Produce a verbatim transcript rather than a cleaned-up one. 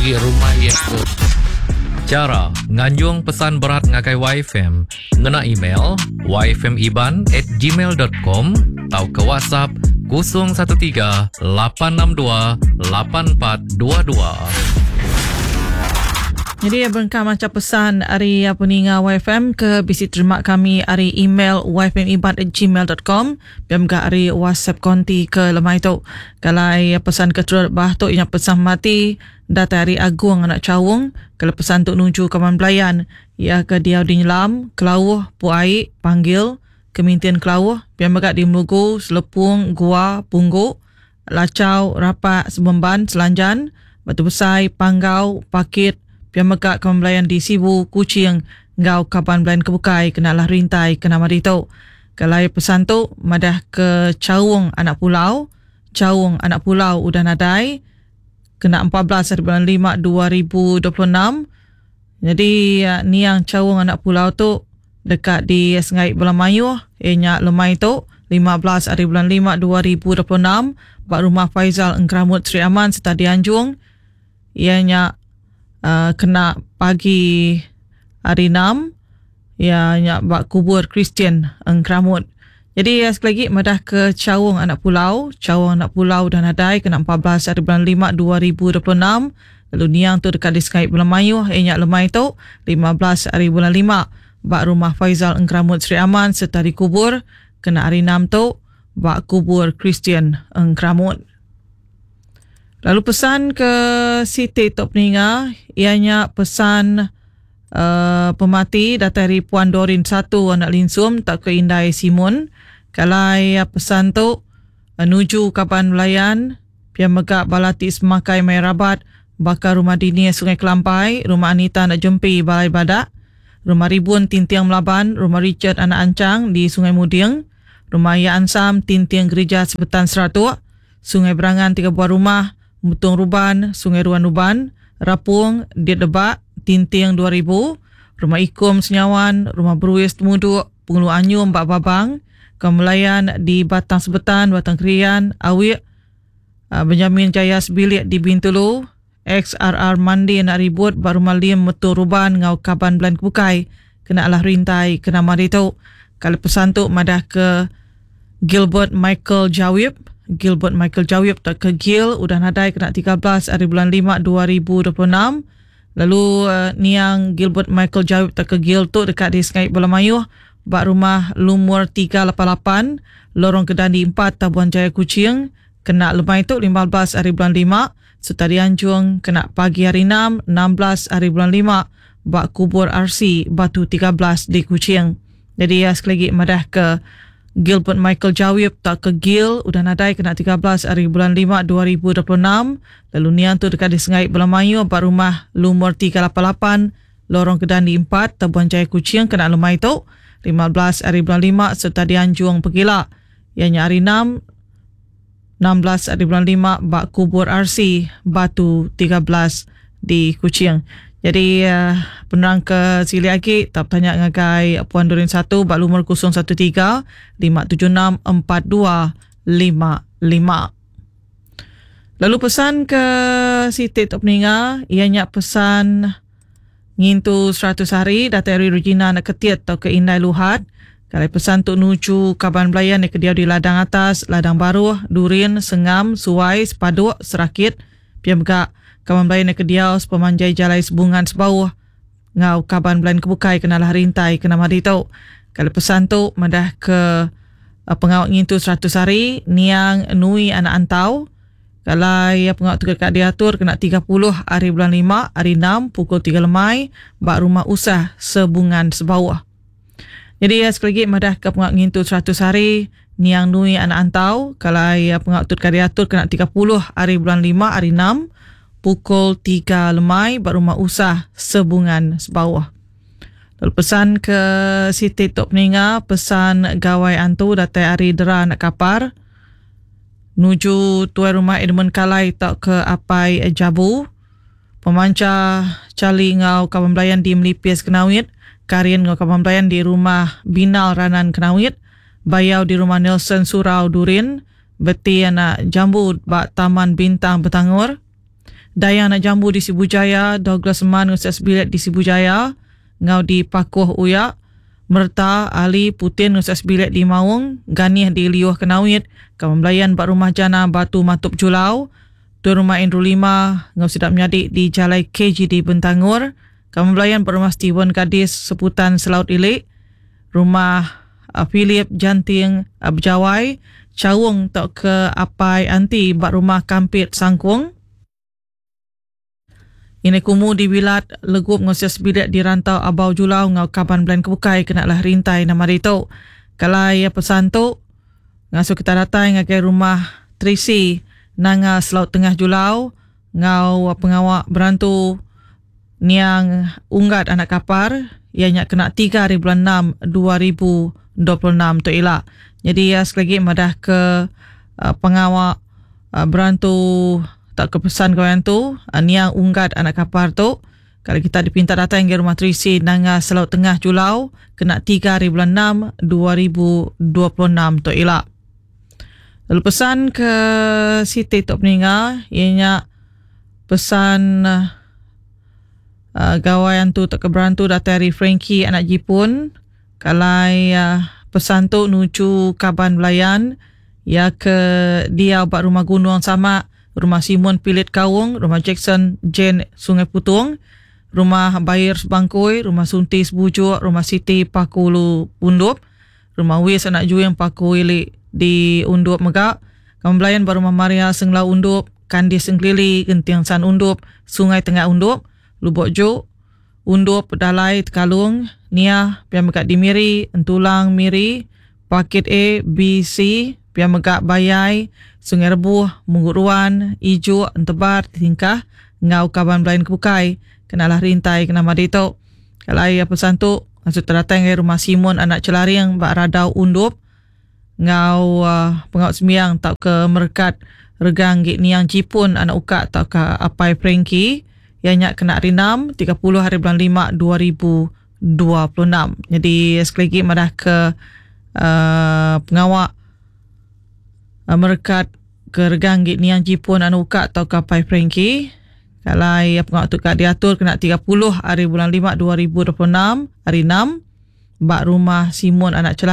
Agi rumah iya ke. Chara nganjung pesan berat ngagai Y F M ngena email yfmiban at gmail dot com tauka WhatsApp kosong satu tiga lapan enam dua lapan empat dua dua. Jadi berengkah maca pesan ari peninga Y F M ke bisi terima kami ari email yfmiban at gmail dot com dan juga ari WhatsApp konti ke lemai tu. Kalau pesan ke terubah tu yang pesan mati datai ari Agung anak Cawung. Kalau pesan tu nuju kawan belayan ya ke dia di Nyelam, Kelauh, Puai, Panggil, Kemintian Kelauh, biar megak di Melugu, Selepung, Gua, Pungguk, Lacau, Rapak, Sebemban, Selanjan, Batu Besai, Panggau, Pakit, pia mega kaban belayan di Sibu, Kuching, ngau kaban belayan kebukai kenalah rintai ke nama ditu. Kalau pesan tu madah ke Caung anak pulau, Caung anak pulau udah nadai kena empat belas hari bulan lima dua ribu dua puluh enam. Jadi eh, niang Caung anak pulau tu dekat di Sengai Bola Mayuh ianya lemai tu lima belas hari bulan lima dua ribu dua puluh enam ba rumah Faizal Engkeramut Sri Aman serta dianjung ianya uh, kena pagi hari enam ya nya bak kubur Kristian Engkeramut. Jadi ya, sekali lagi madah ke Caung anak pulau, Caung anak pulau dah nadai kena empat belas hari bulan lima dua ribu dua puluh enam. Lalu niang tu dekat di Sengai Bulan Mayuh ianya lemai tu lima belas hari bulan lima bak rumah Faizal Engkeramut Sri Aman serta dikubur kena hari enam tu bak kubur Kristian Engkeramut. Lalu pesan ke Siti Tok Peninga ianya pesan uh, pemati datai dari Puan Dorin satu anak Linsum tak ke Indai Simun. Kalau ya pesan tu uh, nuju kaban belayan pia mega balati semakai mai rabat bakar rumah Dini Sungai Kelampai, rumah Anita anak Jempi Balai Badak, rumah Ribun Tintiang Melaban, rumah Richard anak Ancang di Sungai Muding, rumah Ya Ansam Tintiang Gereja Sebetan Seratuk, Sungai Berangan tiga buah rumah, Mutung Ruban, Sungai Ruan Ruban, Rapung, Diet Debak, Tinting dua ribu, Rumah Ikum Senyawan, Rumah Beruis Temuduk, Pengulu Anyum Bak Babang, Kemelayan di Batang Sebetan, Batang Krian, Awik, uh, Benjamin Jaya Sebilik di Bintulu, X R R Mandi nak ribut baru malim metu ruban ngau kaban bulan kebukai kena alah rintai kena mari tu. Kalau pesan tu madah ke Gilbert Michael Jawib, Gilbert Michael Jawib tak ke Gil udah nadai kena tiga belas hari bulan lima dua ribu dua puluh enam. Lalu uh, niang Gilbert Michael Jawib tak ke Gil tu dekat di Sengai Bola Mayuh bak rumah lumur tiga lapan lapan Lorong Kedandi empat Tabuan Jaya Kuching kena lemai tu lima belas hari bulan lima serta dianjung kena pagi hari enam enam belas hari bulan lima bak kubur R C Batu tiga belas di Kuching. Jadi ya, sekali lagi madah ke Gilbert Michael Jawib tak ke Gil udah nadai kena tiga belas hari bulan lima dua ribu dua puluh enam. Lalu niang tu dekat di Sengai Bola Mayu bak rumah lumur tiga lapan lapan Lorong Kedandi empat Tabuan Jaya Kuching kena lemai tu lima belas hari bulan lima serta dianjung pegila ianya hari enam enam belas hari bulan lima bak kubur R C Batu tiga belas di Kuching. Jadi uh, penerang ke sili lagi tak tanya ngagai Puan Dorin satu bak lumur kosong satu tiga lima tujuh enam empat dua lima lima. Lalu pesan ke Siti Tok Peninga ianya pesan ngintu seratus hari datai ari Regina anak ketiat atau ke Indai Luhat. Kalau pesan tu nuju kaban belayan yang kedia di ladang atas, ladang baruh, Durin, Sengam, Suai, Sepaduk, Serakit, pia mega kaban belayan yang kedia sepemanjai jalai Sebungan Sebauh, ngau kaban belayan kebukai kenalah rintai kena mari tu. Kalau pesan tu madah ke uh, pengawak ngintu seratus hari, niang Nui anak Antau. Kalau ya pengawak tu dekat diatur kena tiga puluh hari bulan lima, hari enam pukul tiga lemai bak rumah usah Sebungan Sebawah. Jadi ya, sekali lagi madah ke pengawak ngintu seratus hari niang Nui anak Antau. Kalau ya pengawak tu dekat diatur kena tiga puluh hari bulan lima, hari enam pukul tiga lemai bak rumah usah Sebungan Sebawah. Lalu pesan ke Siti Tok Peninga, pesan gawai antu datai ari Dera anak Kapar. Nuju tuai rumah Edmund Kalai tak ke Apai Jabu. Pemanca Cali ngau kawan belayan di Melipis Kenawit. Karin ngau kawan belayan di rumah Binal Ranan Kenawit. Bayau di rumah Nelson Surau Durin. Beti anak Jambu bak Taman Bintang Betangur. Dayang anak Jambu di Sibu Jaya, Douglas Man ngau sebilik di Sibu Jaya, ngau di Pakuh Uyak, Merta Ali Putin ngau sebilik di Maung, Ganih di Liuh Kenawit, Kawan Belayan bak Rumah Jana Batu Matup Julau, Tuan Rumah Andrew Lima ngau sedap menyadik di Jalai K G D Bentangor, Kawan Belayan bak Rumah Steven Gadis Seputan Selaut Ilik, Rumah, uh, Philip Janting, uh, Berjawai, Cawung tok ke Apai Anti bak Rumah Kampit Sangkung. Ini kumu di Wilat Legup ngau sebilik di Rantau Abau Julau ngau Kaban Belen Kebukai kena lah rintai nama itu. Kalau ya pesan tu ngasuh kita datang ngagai rumah Trisi Nanga Selaut Tengah Julau ngau pengawak berantu niang unggat anak kapar ianya kena tiga hari bulan enam dua ribu dua puluh enam tu elak. Jadi ya sekali lagi madah ke, uh, pengawak, uh, berantu tak kepesan kawan tu, uh, niang unggat anak kapar tu. Kalau kita dipinta datang ke rumah Trisi Nanga Selaut Tengah Julau kena tiga hari bulan enam dua ribu dua puluh enam tu elak. Lalu pesan ke Siti Tok Peninga ianya pesan, uh, gawai tu tak keberantu datang dari Frankie anak Jipun. Kalai, uh, pesan tu nuju Kaban Belayan ya ke dia buat rumah Gunung sama rumah Simon Pilit Kaung, rumah Jackson Jane Sungai Putung, rumah Bayir Sebangkui, rumah Sunti Sebujuk, rumah Siti Pakulu Undup, rumah Wis anak Juing Paku Ilik di Undup Megak, Kaban Belayan buat rumah Maria Senglau Undup, Kandis Sengklili, Genting San Undup, Sungai Tengah Undup, Lubok Juk, Undup Pedalai Tekalung, Nia, Pian Megak di Miri, Entulang Miri, Paket A, B, C, Pian Megak Bayai, Sungai Rebuh, Munggut Ruan, Ijuk, Entebar, Tingkah, Ngau Kaban Belayan Kebukai, kenalah rintai kena madi tu. Kalau ayah pesan tu, maksud terdatang ke rumah Simon anak Celaring, Bak Radau Undup, ngau, uh, pengawak sembiang tak ke Merkat Regang Gik Niang Jipun anak Ukak tak ke Apai Frankie, ianya kena hari enam, tiga puluh hari bulan lima dua ribu dua puluh enam. Jadi sekali lagi madah ke, uh, pengawak, uh, Merkat ke Regang Gik Niang Jipun anak Ukak atau ke Apai Frankie. Kalau ya pengawak tu kat diatur kena tiga puluh hari bulan lima dua ribu dua puluh enam hari enam bak rumah Simon anak Celah